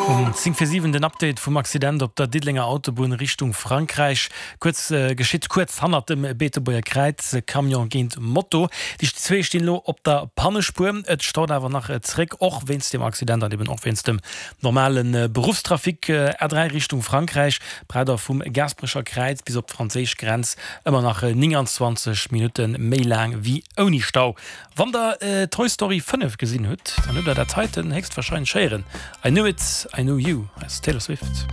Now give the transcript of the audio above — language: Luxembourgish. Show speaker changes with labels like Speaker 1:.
Speaker 1: Um 10 vir 7 den Update vum Accident op der Diddelenger Autobunn Richtung Frankräich. Kuerz geschitt kuerz hannert dem Beetebuerger Kräiz, Camion géint Moto. Déi zwee stinn elo op der Pannespuer. Et staut awer nach zeréck, och wéinst dem Accident an eben och wéinst dem normale Beruffstrafic. A3 Richtung Frankräich braucht der vum Gaasperecher Kräiz bis op d'franséisch Grenz ëmmer nach 29 Minutte méi laang wéi ouni Stau. Wann der Toy Story 5 gesinn hutt, dann hutt der dat heiten héchstwahrscheinlech héieren, I Knew It, I Knew You aus Taylor Swift.